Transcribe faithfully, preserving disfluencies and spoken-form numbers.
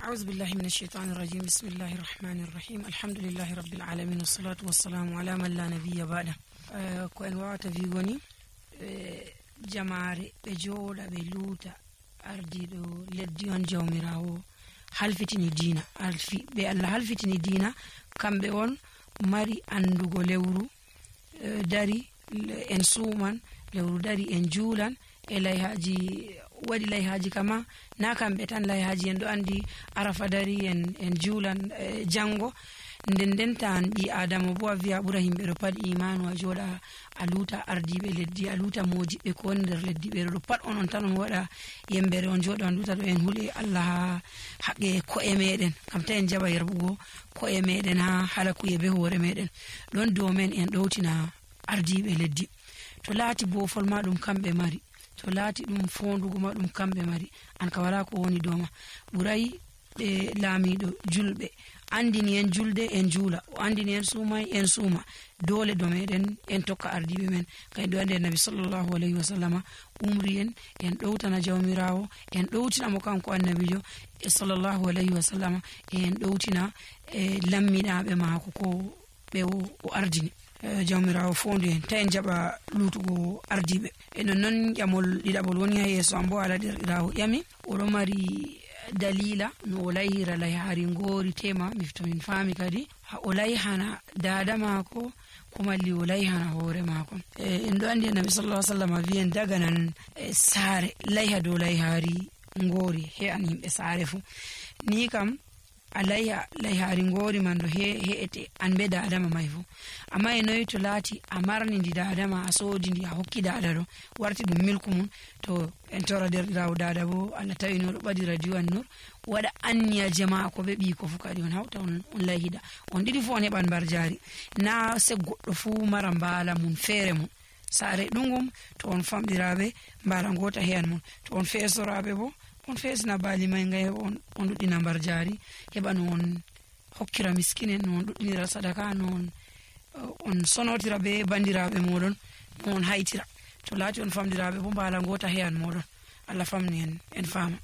Auzu billahi min asheytani rajim. Bismillahi rahmani rahim. Alhamdulillahi rabbil alamin. Wassalatu wassalamu ala man la nabiyya ba'da. Eh, ko en wawata wigo ni, eh, jamaare ɓe jooɗa ɓe luuta ardiiɗo leddi on, Jawmiraawo halfitini diina, halfi-, ɓe Allah halfitini diina, kamɓe on mari anndugo lewru, eh, dari, le-, en suuman, lewru dari en juulan, e layhaaji, waɗi layhaaji kama, na kamɓe tan layhaaji, en ɗo anndi Arafa dari en, en juulan, eh, janngo. Nden nden tan ɓii Aadama bo a wi'a ɓura yimɓe ɗo pat imaanu, a jooɗa a luuta ardiiɓe leddi, a luuta moodiɓɓe ko woni nder leddi, ɓe ɗo pat on, on tan on waɗa yembere, on jooɗa on luuta ɗo en huli Allah haa haqqe ko'e meɗen, kam ta en jaɓa yerɓugo ko'e meɗen haa halakuye be hoore meɗen. Ɗon dow men en ɗowtina ardiiɓe leddi. To laati boofol ma ɗum kamɓe mari, to laati ɗum foondugo ma ɗum kamɓe mari, an ka wala ko woni dow ma. Ɓuray ɓe laamiiɗo julɓe. Anndini en julde, en juula. O anndini en suumay, en suuma. Doole dow meɗen, en tokka ardiiɓe men. Kay ɗo anndi Annabi sallallahu alayhi wa sallama umri en, en ɗowtana Jawmiraawo, en ɗowtina mo kanko Annabiijo, e sallallahu alayhi wa sallama, e en ɗowtina, e lamminaaɓe maako ko ɓe o, o ardini. Eh, Jawmiraawo foondu en, ta en jaɓa luutugo ardiiɓe. E non non ƴamol ɗiɗaɓol woni haa yeeso am bo, ala derɗiraawo ƴami. Oɗo mari daliila no o layhira layhaari ngoori tema, mifto min faami kadi. Ha o layhana daada maako, ko malli o layhana hoore maako. Eh, en ɗo anndi Annabi sallallahu alaihi wasallam wiyen daganan, eh, saare, layha dow layhaari ngoori, he an yimɓe saare fu. Ni kam, a layha, layhaari ngoori man ɗo he, he'ete, an be daada ma may fu. Amma e noy to laati a marni ndi daada ma, a soodi ndi, a hokki daada ɗo, warti ɗum milku mum, to en tora derɗiraawo daada bo, Allah tawi no ɗo ɓadi radio an nur, waɗa anniya jama'a ko be ɓiiko fu kadi on hawta on, on layhida. On ɗiɗi fu on heɓan mbarjaari. Na se goɗɗo fu mara mbaala mum feere mum. Saare ɗungum, to on famɗiraaɓe, mbaala ngoota heyan mum. To on feesoraaɓe bo, on feesina baali may ngay on, on ɗuɗɗina mbarjaari, heɓa no on hokkira miskinen, no on ɗuɗɗinira sadaka, no on, eh, on sonotira be bandiraaɓe moɗon, no on haytira. To laati on famɗiraaɓe bo, mbaala ngoota heyan moɗon. Allah famni en, en faama.